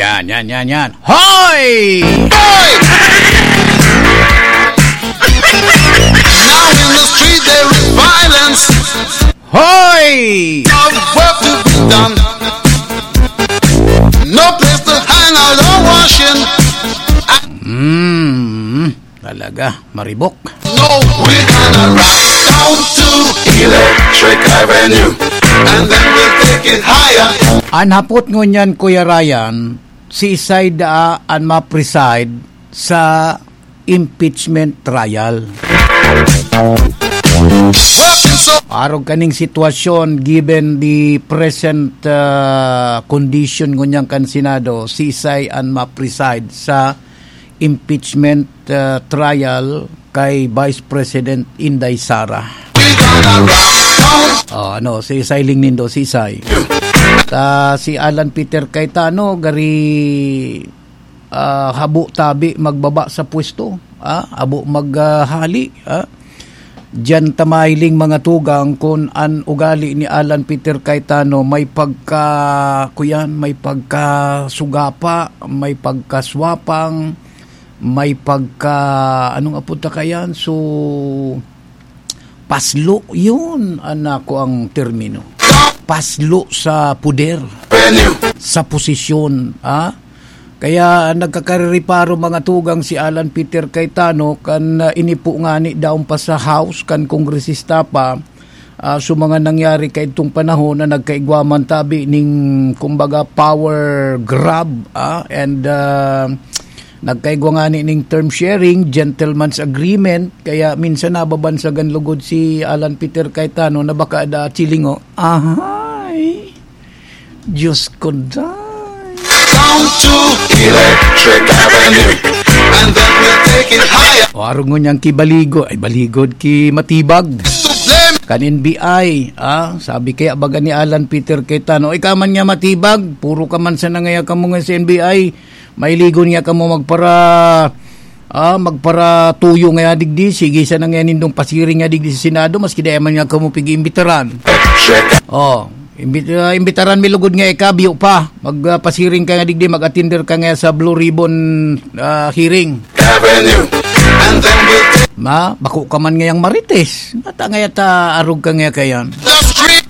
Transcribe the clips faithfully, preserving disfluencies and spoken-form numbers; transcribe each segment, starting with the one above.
Yan, yan, yan, yan. Hoy! Now in the street there is violence. Hoy! Of work to be done. No place to hang out or washing. Mm, talaga, maribok. No, we're gonna ride down to Electric Avenue. And then we'll take it higher. An hapot ngunyan, Kuya Ryan, si Isay daa an ma-preside sa impeachment trial. Arog kaning sitwasyon, given the present, ah, condition ngunyan kan Senado, si Isay an ma-preside sa impeachment, ah, trial kay Vice President Inday Sara. Oh, ano, si Isay Ling Nindo, si Isay. Ta si Alan Peter Cayetano, gari, ah, habo tabi magbaba sa pwesto, ah, habo mag, ah, hali, ah. Diyan ta mahiling, mga tugang, kun an ugali ni Alan Peter Cayetano may pagka, kuyan, may pagkasugapa, may pagkaswapang, may pagka, anong apod ta kayan? So, paslo, yun, anako ang termino. Paslo sa poder, sa posisyon, ha? Kaya nagkakarereparo, mga tugang, si Alan Peter Cayetano kan, ah, inipo ngani daon pa sa House, kan kongresista pa, ah, so mga nangyari kaidtong panahon na nagkaigwa man tabi ning, kumbaga, power grab, ah, and, ah, nagkaigwa ngani ning term sharing, gentleman's agreement, kaya minsan nababansagan lugod si Alan Peter Cayetano na baka da chilingo. Ahay! Diyos ko, day. Down to Electric Avenue. And then we'll take it higher. O, arog ngunyan ki Baligo-, ay, Baligod, ki Matibag. Kan N B I, ah, sabi kaya baga ni Alan Peter Cayetano, "Ikaw man nga, Matibag, puro ka man sana ngaya kamo nga sa N B I, mailigon nga kamo magpara, ah, magparatuyo ngaya digdi, sige sana ngaya nindong pasiring nga digdi sa Senado, maski dai man nga kamo pig-iimbitaran." Oh, imbit-, ah, imbitaran mi lugod nga ika, biyo pa. Mag, ah, pasiring ka nga digdi, mag-attender ka ngaya sa Blue Ribbon, ah, hearing. Avenue. And then we'll take Ma, bako ka man ngayang Marites. Bata ngaya ta arog ka ngaya kayan. The street.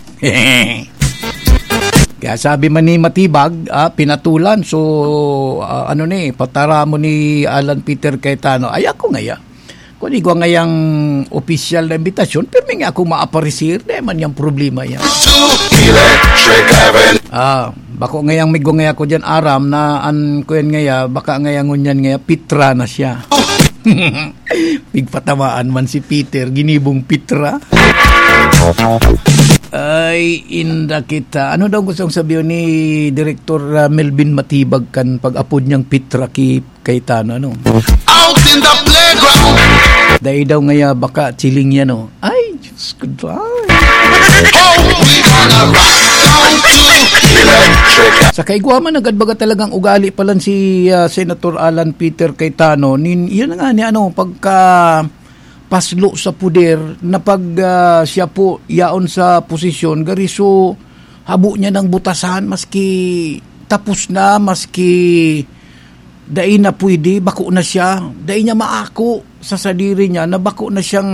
Kaya sabi man ni Matibag, ah, pinatulan. So, ah, ano ni, pataramon ni Alan Peter Cayetano. Ay, ako ngaya. Kung igwa ngayang opisyal na imbitasyon, pirmi nga ako maaparisir. Dai man yang problema yan. To Electric Avenue. Ah, bako ngayang may gungay ako dyan, aram na an kuyan ngaya, baka ngaya ngunyan ngaya, pitra na siya. Pigpatamaan man si Peter, ginibong pitra. Ay, inda kita. Ano daw gustong sabihin ni Direktor, ah, Melvin Matibag kan pag-apod niyang pitra ki Cayetano, ano? Out in the playground. Dai daw ngaya baka chiling yan, oh. Ay, Diyos ko, dai. Oh, we gonna rock down to Electric. Sa kaigwa man, nagad baga talagang ugali pa lang si, ah, Senator Alan Peter Cayetano. Nin, yun nga ni ano, pagka paslo sa puder na pag, ah, siya po yaon sa posisyon, gari so habo niya ng butasan, maski tapos na, maski dai na pwede, bako na siya, dai niya maako sa sadiri niya na bako na siyang,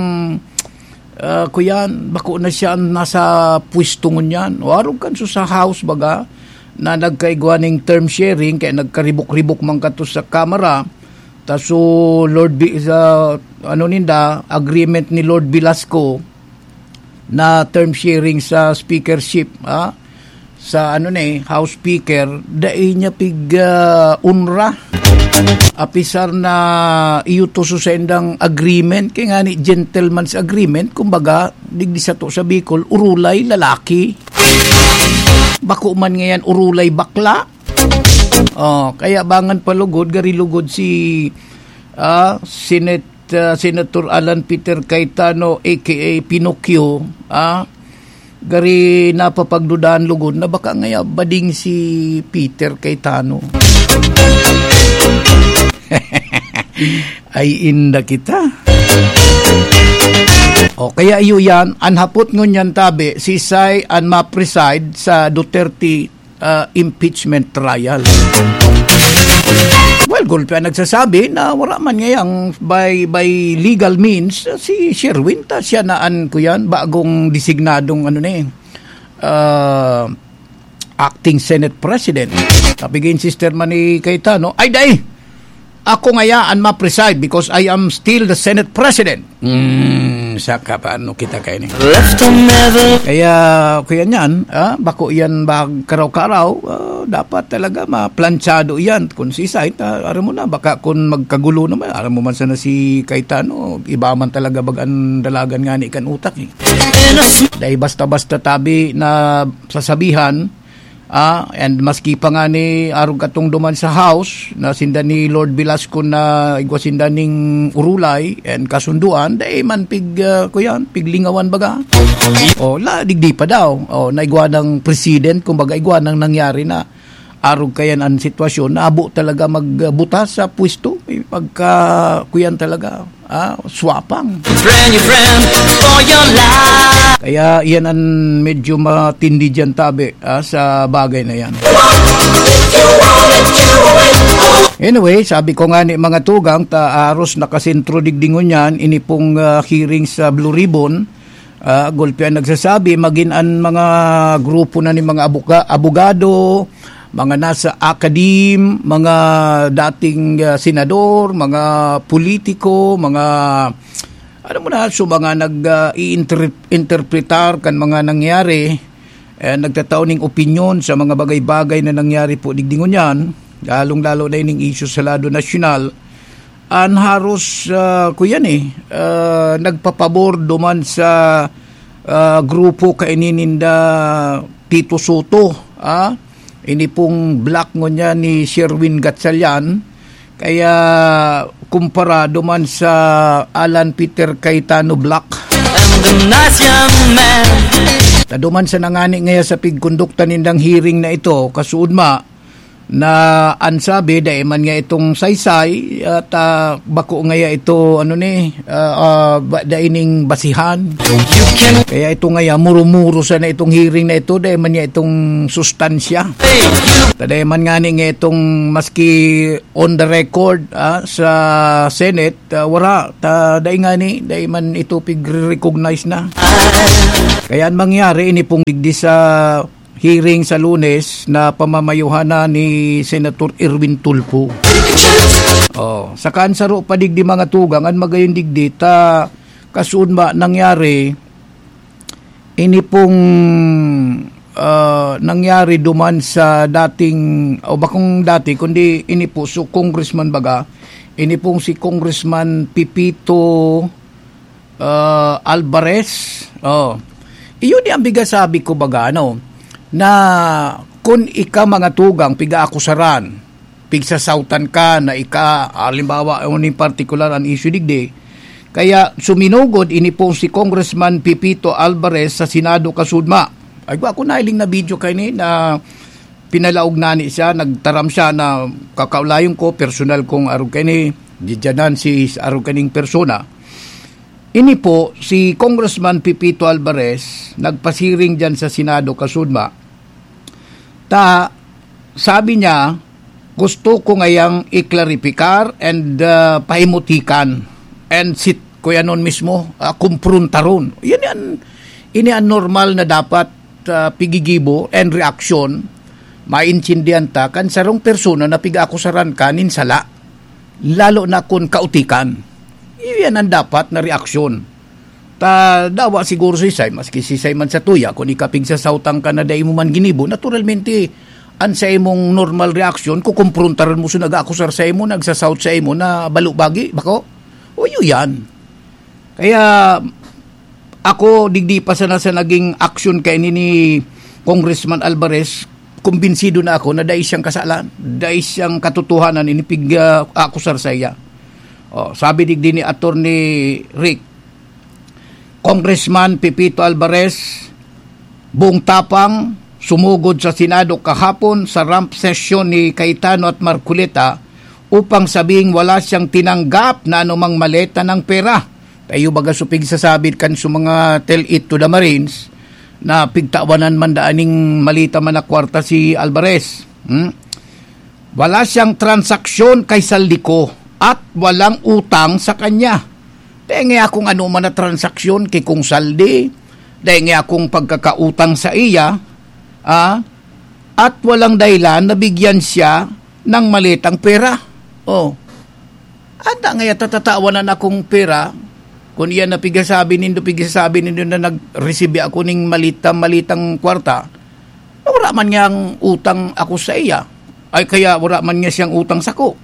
ah, kuyan, bako na siya ang nasa pwesto ngunyan. O arog kan so sa House baga, na nagkaigwa ning term sharing, kaya nagkaribok-ribok man kato sa Kamara, ta so Lord Bi-, sa, ano ninda, agreement ni Lord Velasco, na term sharing sa speakership, ah, sa ano na eh, House Speaker, dai niya pig, ah, unra. Apisar na iyo to sa saindang agreement, kaya nga ni gentleman's agreement, kumbaga, digdi sa to sa Bicol, urulay, lalaki. Bako man ngayan, urulay, bakla. Oh, kaya bangan palugod, gari lugod si, ah, Senate ah, Senator Alan Peter Cayetano, A K A Pinocchio, ah, gari napapagdudahan lugod na baka ngaya bading si Peter Cayetano. Ay, inda kita. O, kaya iyo yan, an hapot ngunyan tabi, si Sai an ma-preside sa Duterte ah, impeachment trial. Gulpi an nagsasabi na wala man ngayang by, by legal means, si Sherwin ta siya na an kuyan, bagong designadong ano na eh, ah, acting Senate President. Sabi gin sister man ni Cayetano, "Ay, dai! Ako ngaya an ma-preside because I am still the Senate President." Hmm, sa ka, paano kita kayo ni? Left a medal. Kaya, kuya niyan, ah, bako yan bag karaw-karaw, ah, dapat talaga maplanchado yan. Kung si Isay, ta, aram mo na, baka kung magkagulo naman, aram mo man sana si Cayetano, iba man talaga bag ang dalagan nga ni kan utak eh. In a sm- Dahil basta-basta tabi na sasabihan, ah, and maski pa nga ni arog katong duman sa House, na sinda ni Lord Velasco na igwa sinda ning urulay and kasunduan, dai man pig, ah, kuyan, piglingawan baga. O, la, digdi pa daw. O, naigwa ng president, kumbaga igwa nang nangyari na arog kayan an sitwasyon, naabo talaga magbuta sa pwesto. Eh, pagka, kuyan talaga, ah, swapang. Friend, your friend, for your life. Kaya iyan an medyo matindi diyan, tabi, ah, sa bagay na yan. Anyway, sabi ko nga ni mga tugang, ta aros nakasentro digdi ngunyan, ini pong, ah, hearing sa Blue Ribbon, ah, gulpi an nagsasabi, magin an mga grupo na ni mga abuka-, abogado, mga nasa academe, mga dating, ah, senador, mga politiko, mga, ano mo na, so mga nag, ah, iinter-, interpretar kan mga nangyari, eh, nagtatao ning opinyon sa mga bagay-bagay na nangyari po digdi ngunyan, lalong-lalo na ining isyu sa lado nasyonal, an haros, ah, kuyan eh, ah, nagpapabor duman sa, ah, grupo kaini ninda Tito Soto, ah. Ini pong bloc ngunyan ni Sherwin Gatchalian, kaya kumpara duman sa Alan Peter Cayetano bloc. And the nice young man. Ta duman sa nangani ngaya sa pigkondukta nindang hearing na ito, kasuodma, na an sabi, dai man nga itong saysay, at, ah, bako ngaya ito, ano ni, ah, ah, ba-, dai ning basihan. You can Kaya ito ngaya, muro-muro sana itong hearing na ito, dai man nga itong sustansya. Hey, you Ta dai man ngani nga itong maski on the record, ah, sa Senate, ah, wala. Ta dai ngani, dai man ito pigre-recognize na. Kaya an mangyari, ini pong digdi sa hearing sa Lunes na pamamayuhan na ni Senator Erwin Tulfo. Oh, saka an saro pa digdi mga tugang, an magayon digdi, ta kasuodma nangyari, ini pong, ah, nangyari duman sa dating, o bakong dati, kundi ini po, so congressman baga, ini pong si Congressman Pepito, ah, Alvarez. Oh. Iyon yung biga sabi ko baga, ano, na kun ika mga tugang, piga-akusaran, pigsasautan ka na ika, halimbawa, ano in particular ang issue digdi. Kaya suminugod ini po si Congressman Pepito Alvarez sa Senado kasudma. Ay, ako nahiling na video kaini na pinalaog na ni siya, nagtaram siya na kakaulayon ko, personal kong arog kaini, didyanan si arog kaning persona. Ini po, si Congressman Pepito Alvarez, nagpasiring dyan sa Senado kasudma. Ta, sabi niya, gusto ko ngayang iklaripikar and, ah, pahimutikan and sit, kuya nun mismo, ah, kumprontaron. Yan yan. Ini ang normal na dapat, ah, pigigibo and reaksyon, maintindihan ta, kan sarong persona na pig-akusaran ka nin sala, lalo na kun kautikan. Iyan ang dapat na reaksyon. Ta, dawa siguro si Say, maski si Say man sa tuya, kun ika pigsasautan ka na dai mo man ginibo, naturalmente, an sa imong normal reaksyon, kukumprontaran mo sa nag-aakusar sa imo, nagsasaut sa imo na balubagi, bako? O, iyo yan. Kaya, ako, digdi pa sana sa naging aksyon kaini ni Congressman Alvarez, kumbinsido na ako na dai siyang kasalan, dai siyang katotohanan, ini pig, ah, akusar sa iya. Oh, sabi digdi ni Attorney Rick, Congressman Pepito Alvarez, buong tapang, sumugod sa Senado kahapon sa rump session ni Cayetano at Marcoleta upang sabihing wala siyang tinanggap na anumang maleta ng pera. Tayo baga supig sasabit kan sa mga tell it to the Marines na pigtawanan man daan ning maleta man na kwarta si Alvarez. Hmm? Wala siyang transaksyon kay Saldico at walang utang sa kanya. Dai nga akong anoman na transaksyon ki Kong Saldi, dai nga akong pagkakautang sa iya, ah, at walang dahilan na bigyan siya ng maletang pera. Oh. Anda nga iya tatatawanan akong pera, kun iyan na pigasabi nindo, pigasabi nindo na nag-receive ako ning malita, malitang kwarta, na wala man niyang utang ako sa iya. Ay, kaya wala man niya siyang utang sako.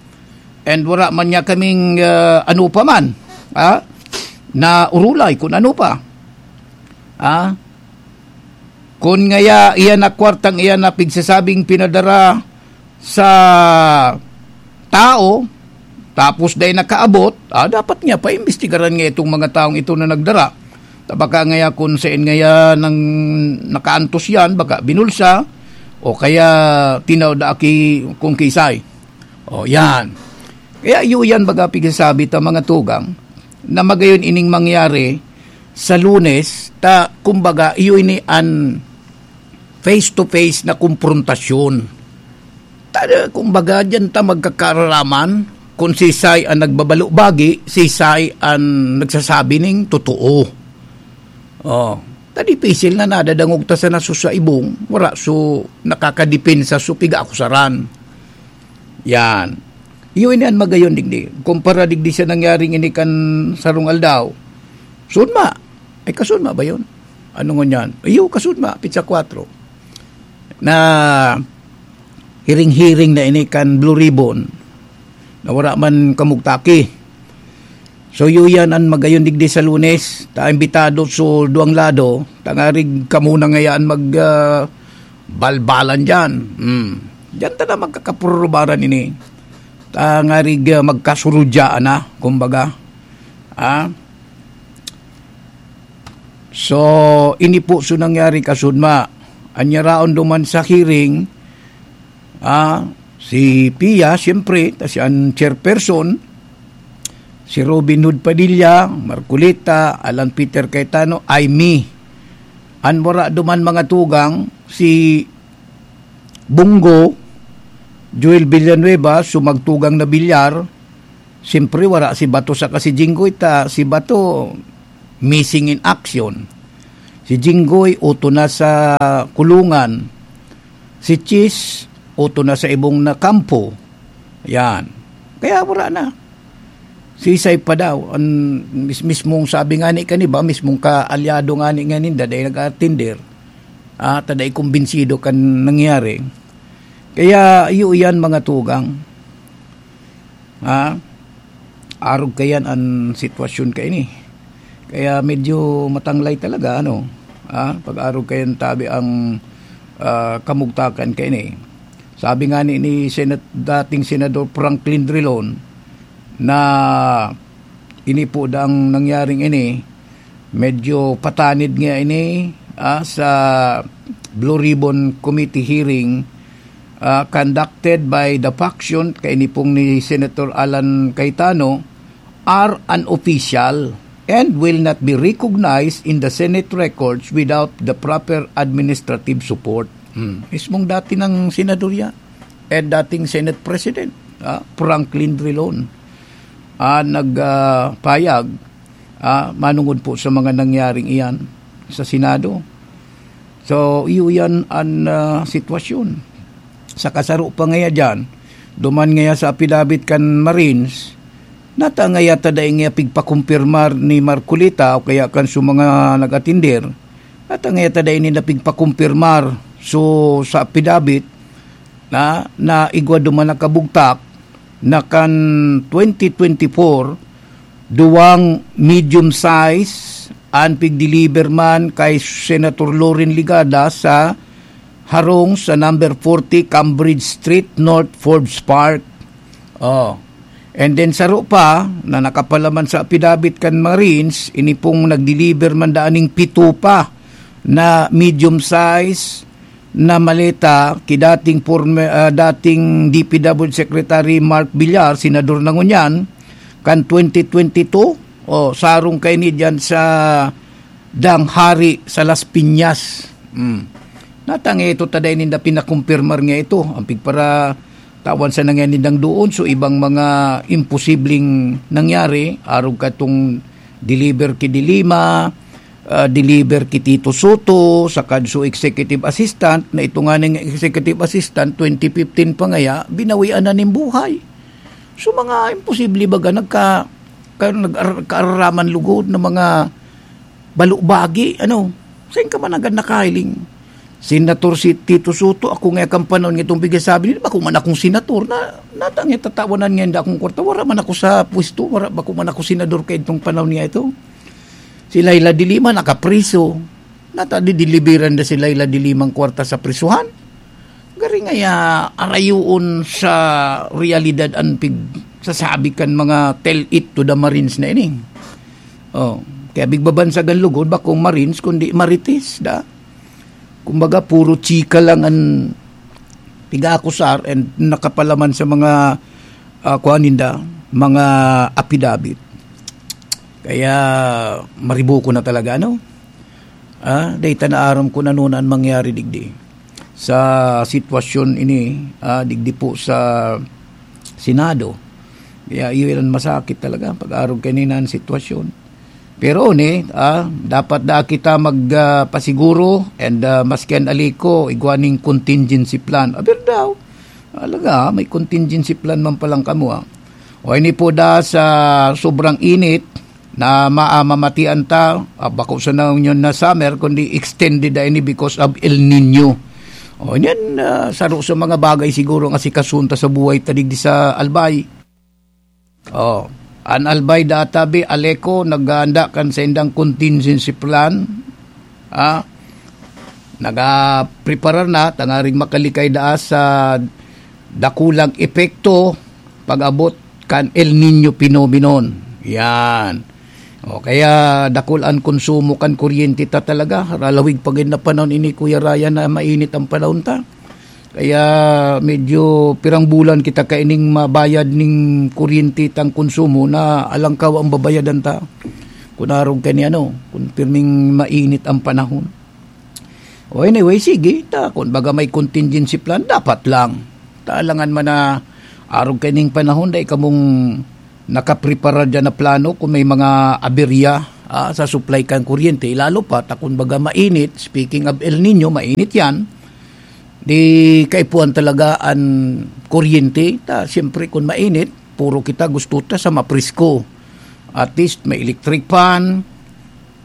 And wala man niya kaming, ah, ano pa man, ha? Na urulay, kung ano pa. Ha? Kun ngaya iyan na kwartang iyan na pigsasabing pinadara sa tao, tapos dai nakaabot, ah, dapat niya paimbestigaran nga itong mga taong ito na nagdara. Ta baka ngaya kun sain ngaya nang nakaantos yan, baka binulsa, o kaya tinaw da aki kung kisay. O, yan. Kaya iyo yan baga pigsasabi ta mga tugang na magayon ining mangyari sa Lunes, ta kumbaga iyo ini an face-to-face na komprontasyon. Ta, kumbaga, diyan ta magkakararaman kung sisay ang nagbabalo-bagi, sisay ang nagsasabi ning totoo. Oh, ta dipisil na nadadangog ta sana so sa ibong, wala so nakakadepensa so piga-akusaran. Yan. Iyo ini an magayon digdi. Kumpara digdi sa nangyaring ini kan sarong aldaw. Sudma. Ay, kasudma ba yun? Ano ngunyan? Iyo, kasudma. Pizza kwatro. Na hiring-hiring na ini kan Blue Ribbon. Na wala man kamugtaki. So, iyo yan an magayon digdi sa Lunes. Ta imbitado so duwang lado. Tangarig kamo na ngayaan mag, ah, balbalan dyan. Hmm. Diyan ta na magkakapurubaran ini. Tangarig, ah, magkasurudyaan na, kumbaga. Ah? So, ini po so nangyari kasudma. Anyaraon duman sa hearing, ah, si Pia, siyempre, ta siya an chairperson, si Robin Hood Padilla, Marcoleta, Alan Peter Cayetano, ay me. An wara duman mga tugang, si Bunggo, Joel Villanueva, sumagtugang na bilyar, siyempre wara si Bato saka si Jinggoy, ta si Bato missing in action. Si Jinggoy, uto na sa kulungan. Si Chis, uto na sa ibong na kampo. Yan. Kaya wala na. Sisay pa daw. An mis-, mismong sabi nga ni kani ba, mismong kaalyado nga ni nga ninda, dahil nag-atender. Ah, ta dai kumbinsido kan nangyari. Kaya, iyo iyan, mga tugang. Ha? Arog kayan an sitwasyon kaini. Kaya medyo matanglay talaga, ano, ha? Pag-arog kayan tabi ang, ah, kamugtakan kaini. Sabi nga ni, ni Senat-, dating Senador Franklin Drilon na ini po dang nangyaring ini, medyo patanid nga ini, ah, sa Blue Ribbon Committee hearing, ah, conducted by the faction, kaini pong ni Senator Alan Cayetano, are unofficial and will not be recognized in the Senate records without the proper administrative support. Hmm. Mismong dati ng senador yan, and dating Senate President, ah, Franklin Drilon, ah, nag, ah, payag, ah, manungod po sa mga nangyaring iyan sa Senado. So, iyo yan an, ah, sitwasyon. Sa kasaro pa ngaya dyan, duman ngaya sa apidabit kan Marines, nata ngaya ta dai ngaya pigpakumpirmar ni Marcoleta o kaya kan su mga nag-atender, nata ngaya ta dai ninda pigpakumpirmar. So, sa apidabit, na, na igwa duman na kabugtak na kan twenty twenty-four, duwang medium size an pigdeliver man kay Senator Loren Legarda sa harong sa number forty Cambridge Street, North Forbes Park. Oh. And then saro pa na nakapalaman sa apidabit kan Marines, ini pong nagdeliver man daan ning pito pa na medium size na maleta ki dating former, ah, dating D P W Secretary Mark Villar, senador na ngunyan, kan twenty twenty-two, o sarong kaini diyan sa Danghari sa Las Piñas. Mm. Natang ito ta dai ninda pinakumpirmar nga ito. Ang pigpara tawan sa nangyari nindang doon. So, ibang mga imposibleng nangyari, arog katong deliver ki Dilima, ah, deliver ki Tito Soto, saka so executive assistant, na ito nga ning executive assistant, twenty fifteen pa ngaya, binawian na nin buhay. So, mga imposible baga, nagka-, ka-, nag-ar-, kaararaman lugod na mga balubagi, ano? Sain ka man agad nakahiling? Senator si Tito Soto, ako nga kan panahon nga itong pigsasabi nila, bako man akong senator, na, natang nga tatawanan nga inda akong kwarta, wala man ako sa pwesto, wala, bako man ako senador kay itong panahon nga ito. Si Leila de Lima, nakapriso. Nata, didilibiran na si Leila de Limang kwarta sa prisuhan. Gari ngaya, arayuon sa realidad an pig-, sasabi kan mga tell it to the Marines na ini. Oh, kaya bigbabansagan lugod, bakong Marines, kundi Marites, da. Kumbaga, puro chika lang an pig-aakusar and nakapalaman sa mga, ah, kuwan ninda, mga apidabit. Kaya, maribuko na talaga, no? Ah, dahil ta naaram kung ano na an mangyari digdi. Sa sitwasyon ini, ah, digdi po sa Senado. Kaya iyon ang masakit talaga, pag-arog kanina ang sitwasyon. Pero ni, ah, dapat da kita mag, ah, pasiguro and, ah, maski an aliko, igwa ning contingency plan. Aber daw, talaga, may contingency plan man palang kamo, ah. O ini po da sa sobrang init na ma-, ah, mamatian ta, ah, bako sana ngunyan na summer, kundi extended na ini because of El Nino. O, yan, ah, saro sa mga bagay siguro nga sikasuon ta sa buhay ta digdi sa Albay. Oh, an Albay da tabi, Aleco, naghahanda kan saindang contingency plan. Ah, nagapreparar na, tangaring makalikay daa sa dakulang epekto pag-abot kan El Nino phenomenon. Yan. O, kaya dakul an konsumo kan kuryente ta talaga. Ralawig pa gid na panahon ini, Kuya Ryan, na mainit ang panahon ta. Kaya medyo pirang bulan kita kaining mabayad ning kuryente tang konsumo na alangkaw ang babayadan ta. Kun arog ka ni ano, kun pirming mainit ang panahon. O anyway, sige, ta, kun baga may contingency plan, dapat lang. Ta, alangan man na arog kaining panahon, dai kamong nakaprepara diyan na plano kung may mga aberya, ah, sa supply kan kuryente. Lalo pa, ta kun baga mainit, speaking of El Nino, mainit yan. Di kaipuhan talaga an kuryente. Ta, siyempre, kun mainit, puro kita gusto ta sa mapresko. At least, may electric fan,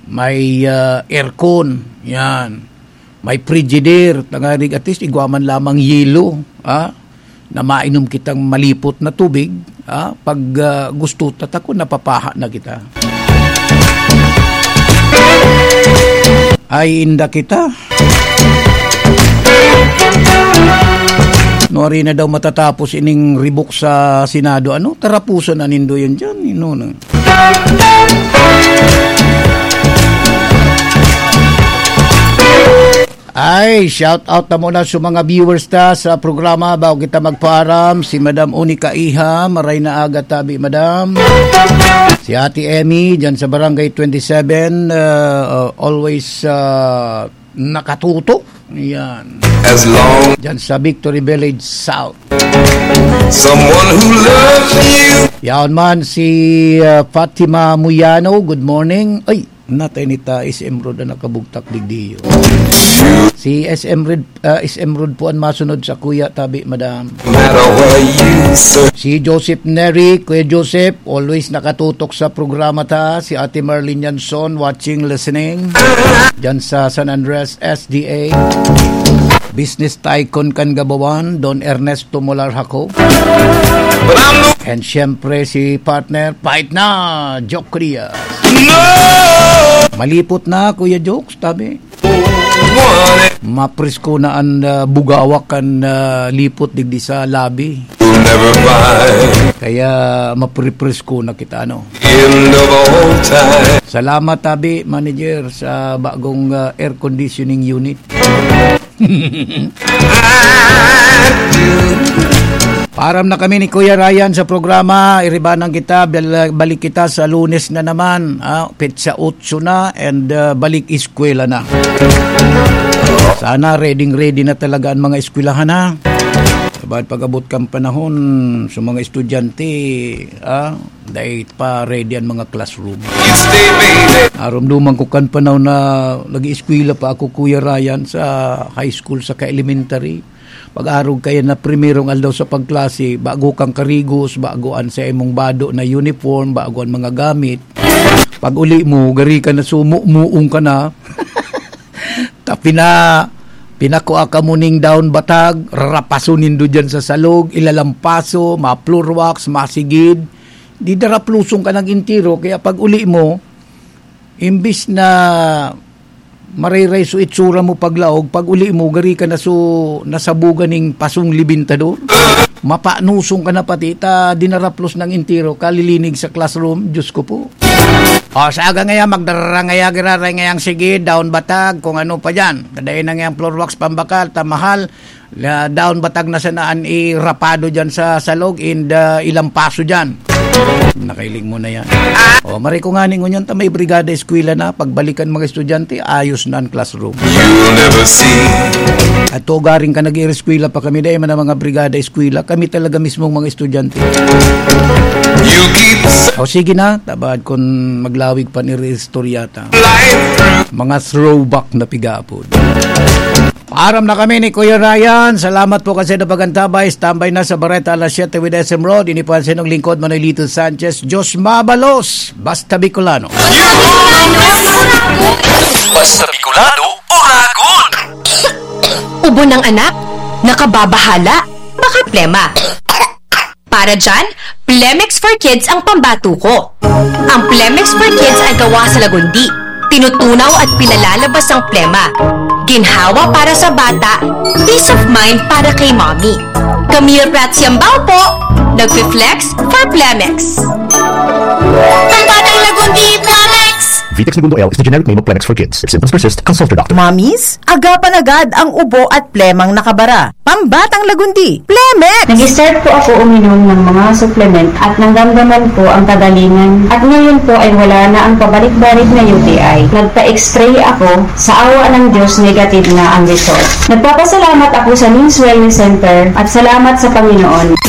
may, ah, aircon, yan. May Frigidaire, tangarig at least igwa man lamang yelo, ah, na mainom kitang malipot na tubig, ah, pag, ah, gusto ta ta kun napapaha na kita. Ay, inda kita. Nuari na daw matatapos ining ribok sa Senado, ano? Tarapusan na nindo yan dyan, ino na. Ay, shout out na muna sa mga viewers ta sa programa. Bago kita magpaaram, si Madam Unica Iha, maray na aga tabi, Madam. Si Ate Emmy, dyan sa Barangay twenty-seven, uh, uh, always, uh, nakatutok. Yan. As long Dyan sa Victory Village South. Someone who loves you. Yaon man si, uh, Fatima Muyano. Good morning. Ay, natay ni ta S M Road ang nakabugtak digdiyo. Si S M Road, uh, S M Road po ang masunod sa kuya tabi, madam. No matter where you search. Si Joseph Neri, Kuya Joseph, always nakatutok sa programa ta. Si Ate Marlene Yanson, watching, listening. Diyan sa San Andres, S D A. Business tycoon kan Gabawan, Don Ernesto Molar Jaco. And syempre si partner, Pait na, Joke Diaz. No! Malipot na, Kuya Jokes, tabi. Mapresko na an, ah, bugawak kan, ah, lipot digdi sa labi. Never mind. Kaya maprepresko na kita, ano. End of all time. Salamat, tabi, manager, sa bagong, ah, air conditioning unit. Param na kami ni Kuya Ryan sa programa. Iribanan kita. Bal-, balik kita sa Lunes na naman. Ah, petsa otso na and, ah, balik eskwela na. Sana ready-ready na talaga ang mga eskwelahan, ha? Pag, pag-abot kan panahon, sa mga estudyante, ah, dai pa ready an mga classroom. Naromdoman ko kan panahon na nag-eskwela pa ako, Kuya Ryan, sa high school saka elementary. Pag-arog kaya na primerong aldaw sa pagklase, bago kang karigos, bago an sa imong bado na uniform, bago an mga gamit. Pag uli mo, gari ka na, sumuong ka na. Ta pina-, pinakua ka mo ning daon batag, rarapaso nindo diyan sa salog, ilalampaso, ma-floor wax, masigid. Di darapluson ka nang entero, kaya pag uli mo, imbis na marayray so itsura mo paglaog, pag uli mo, gari ka na so nasabugan ning pasong libintador. Mapanuson ka na pati, ta dinaraplos nang entero, kalilinig sa classroom, Diyos ko po. O, sa aga ngaya, magdarara ngaya, giraray ngayang sige, daon batag, kung ano pa dyan. Dadain na ngayang floor wax, pambakal, ta mahal, la, daon batag na sana an irapado dyan sa salog, and, ah, ilampaso dyan. Nakailing mo na yan. O, mari ko nga ning ngunyan, ta may brigada eskwela na, pagbalikan mga estudyante, ayos na an classroom. At tugaring ka nag-ireskwela pa kami, dahil man ang mga brigada eskwela, kami talaga mismong mga estudyante. O sige na, tabad kun maglawig pa ni Riz Turyata. Mga throwback na piga-apod. Paaram na kami ni Kuya Ryan. Salamat po kasi na pagantabay. Standby na sa Bareta alas siyete with S M Road. Ini po ang sinong lingkod, Manolito Sanchez. Diyos mabalos. Basta Bicolano. Basta Bicolano, Uragon! Ubo ng anak? Nakababahala? Baka plema. Para dyan, Plemex for Kids ang pambato ko. Ang Plemex for Kids ay gawa sa lagundi. Tinutunaw at pinalalabas ang plema. Ginhawa para sa bata, peace of mind para kay mommy. Camille Prats Yambao po, nagfi-flex for Plemex. Pambatang lagundi, Plemex! Vitex Negundo L is the generic name of Plemex for Kids. If symptoms persist, consult your doctor. Mommies, agapan agad ang ubo at plemang nakabara. Pambatang lagundi, Plemex! Nag-start po ako uminom ng mga supplement at nanggamgaman po ang kagalingan at ngayon po ay wala na ang pabalik-balik na U T I. Nagpa-x-ray ako, sa awa ng Diyos negative na ang result. Nagpapasalamat ako sa Nins Wellness Center at salamat sa Panginoon.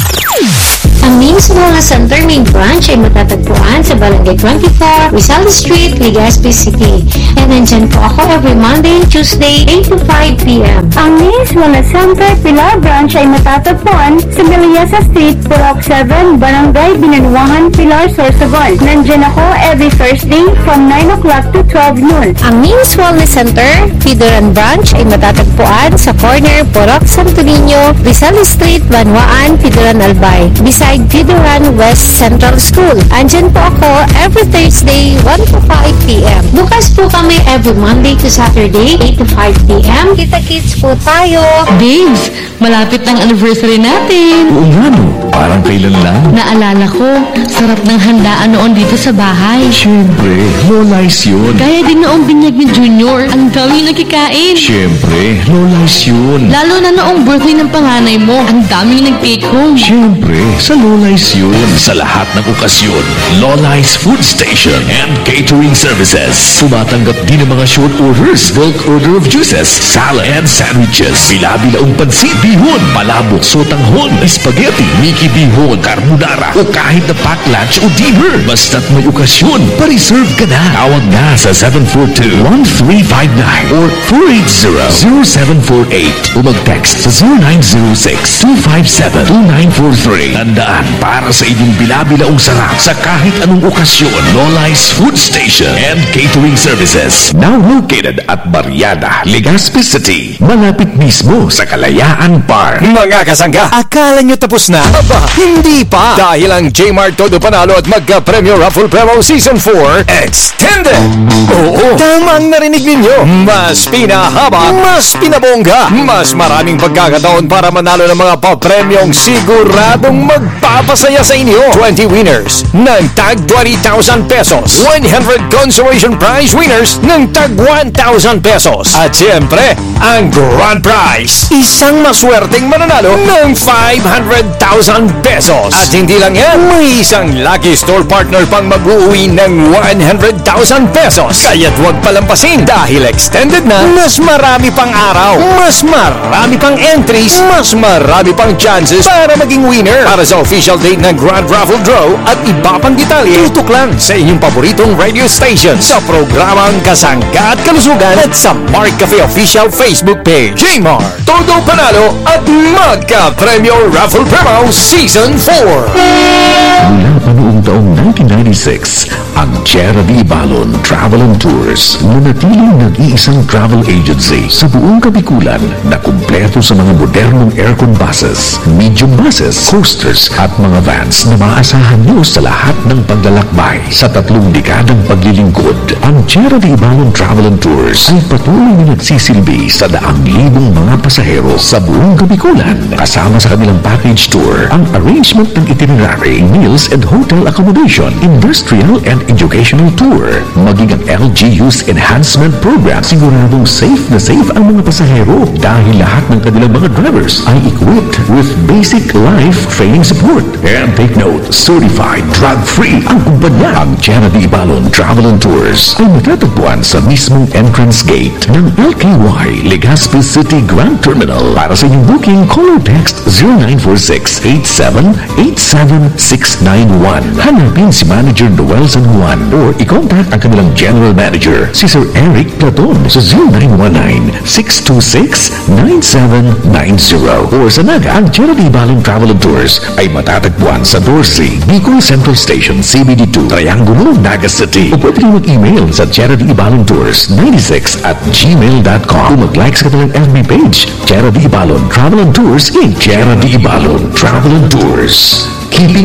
Ang Nins Wellness Center main branch ay matatagpuan sa Barangay twenty-four, Rizal Street, Legazpi City. And nandyan po ako every Monday and Tuesday, eight to five p.m. Ang Nins Wellness Center Pilar Branch ay matatagpuan sa Melliza Street, Purok seven, Barangay Binanuahan, Pilar, Sorsogon. Nandyan ako every Thursday from nine o'clock to twelve noon. Ang Nins Wellness Center, Pidoran Branch ay matatagpuan sa corner Purok Santo Niño, Rizal Street, Banwaan, Pidoran, Albay, beside Pidoran West Central School. Andyan po ako every Thursday, one to five p.m. Bukas po kami every Monday to Saturday, eight to five p.m. Kita-kits po tayo. Babes, malapit na ang anniversary natin. Oo nga no, parang kailan lang. Naalala ko, sarap ng handaan noon dito sa bahay. Siyempre, Lola's yun. Kaya din noong binyag ni Junior, ang daming nakikain. Siyempre, Lola's yun. Lalo na noong birthday ng panganay mo, ang daming nag-take home. Siyempre, sa Lola's yun. Sa lahat ng okasyon, Lola's Food Station and Catering Services. Tumatanggap din ng mga short orders, bulk order of juices, salad and sandwiches. Bila-bilaong pansit, bihon, palabok, sotanghon, spaghetti, miki bihon, carbonara, o kahit na pack lunch o dinner. Basta't may okasyon, pa-reserve ka na. Tawag na sa seven four two, one three five nine or four eight zero, zero seven four eight o mag-text sa zero nine zero six, two five seven, two nine four three. Tandaan, para sa inyong bila-bilaong sarap sa kahit anong okasyon, Lola's Food Station and Catering Services. Now located at Barriada, Legazpi City, malapit mismo sa Kalayaan Park. Mga kasangga, akala nyo tapos na? Aba, hindi pa! Dahil ang J-Mart Todo Panalo at Magka-Premyo Raffle Promo Season four Extended! Oo, tamang narinig ninyo! Mas pinahaba, mas pinabongga, mas maraming pagkakataon para manalo ng mga papremyong siguradong mag- papasaya sa inyo. Twenty winners ng tag twenty thousand pesos. One hundred consolation prize winners ng tag one thousand pesos. At siyempre, ang grand prize, isang maswerteng mananalo ng five hundred thousand pesos. At hindi lang yan, may isang lucky store partner pang mag-uwi ng one hundred thousand pesos. Kaya't huwag palampasin dahil extended na, mas marami pang araw, mas marami pang entries, mas marami pang chances para maging winner. Para sa official date ng Grand Raffle Draw at iba pang detalye, tutok lang sa inyong paboritong radio station sa programang Kasangga at Kalusugan at sa Mark Cafe Official Facebook page. Jmar, todo panalo at magka-premyo Raffle Promo Season four. Mula pa noong taong nineteen ninety-six, ang Tierra de Ibalon Travel and Tours nanatiling nag-iisang travel agency sa buong Kabikulan na kumpleto sa mga modernong aircon buses, medium buses, coasters at mga vans na maaasahan nyo sa lahat ng paglalakbay. Sa tatlong dekadang paglilingkod, ang Tierra de Ibalon Travel and Tours ay patuloy na nagsisilbi sa daang libong mga pasahero sa buong Kabikulan, kasama sa kanilang package tour, ang arrangement ng itinerary, meals and hotel accommodation, industrial and educational tour, maging ang L G U's enhancement program. Siguradong safe na safe ang mga pasahero dahil lahat ng kanilang mga drivers ay equipped with basic life training support. And take note, certified drug-free ang kumpanya. Ang Tierra de Ibalon Travel and Tours ay matatagpuan sa mismong entrance gate ng L K Y Legazpi City Grand Terminal. Para sa inyong booking, call or text zero nine four six eight seven eight seven six nine one. Hanapin si Manager Noel San Juan or i-contact ang kanilang General Manager, si Sir Eric Platon, sa zero nine one nine six two six nine seven nine zero. Or sa Naga, ang Tierra de Ibalon Travel and Tours ay matatagpuan sa doce, Bicol Central Station, C B D two, Triangulo, Naga City. O pwede kayong mag-email sa Tierra de Ibalon Tours ninety-six at gmail dot com o mag-like sa kanilang F B page, Tierra de Ibalon Travel and Tours, Inc. Tierra de Ibalon Travel and Tours. Keeping